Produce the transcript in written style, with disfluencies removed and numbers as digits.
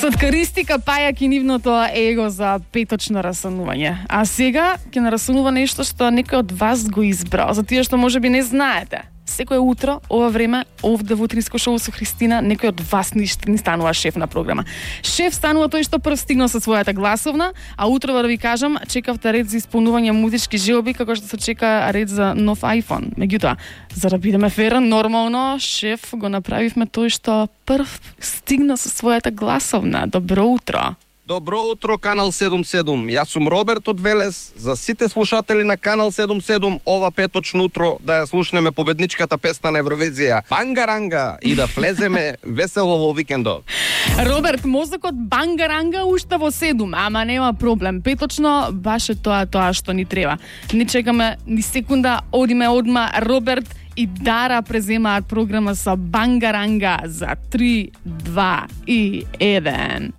Се откаристика пајак и нивното его за петочно расанување. А сега ќе нарасунува нешто што некој од вас го избрал, за тие што можеби не знаете. Секое утро, ова време, овде во Утринско шоу со Христина, некој од вас ни станува шеф на програма. Шеф станува тој што прв стигнал со својата гласовна, а утро да ви кажам, чекавте ред за исполнување музички желби, како што се чека ред за нов iPhone. Меѓутоа, за да бидеме фер, нормално, шеф го направивме тој што прв стигна со својата гласовна. Добро утро. Добро утро, Канал 77. Јас сум Роберт од Велес. За сите слушатели на Канал 77, ова петочно утро да ја слушнеме победничката песна на Евровизија Бангаранга и да влеземе весело во викендот. Роберт, мозокот бангаранга уште во 7, ама нема проблем. Петочно баш е тоа што ни треба. Не чекаме ни секунда, одиме одма. Роберт и Дара преземаат програма со бангаранга за 3, 2 и 1.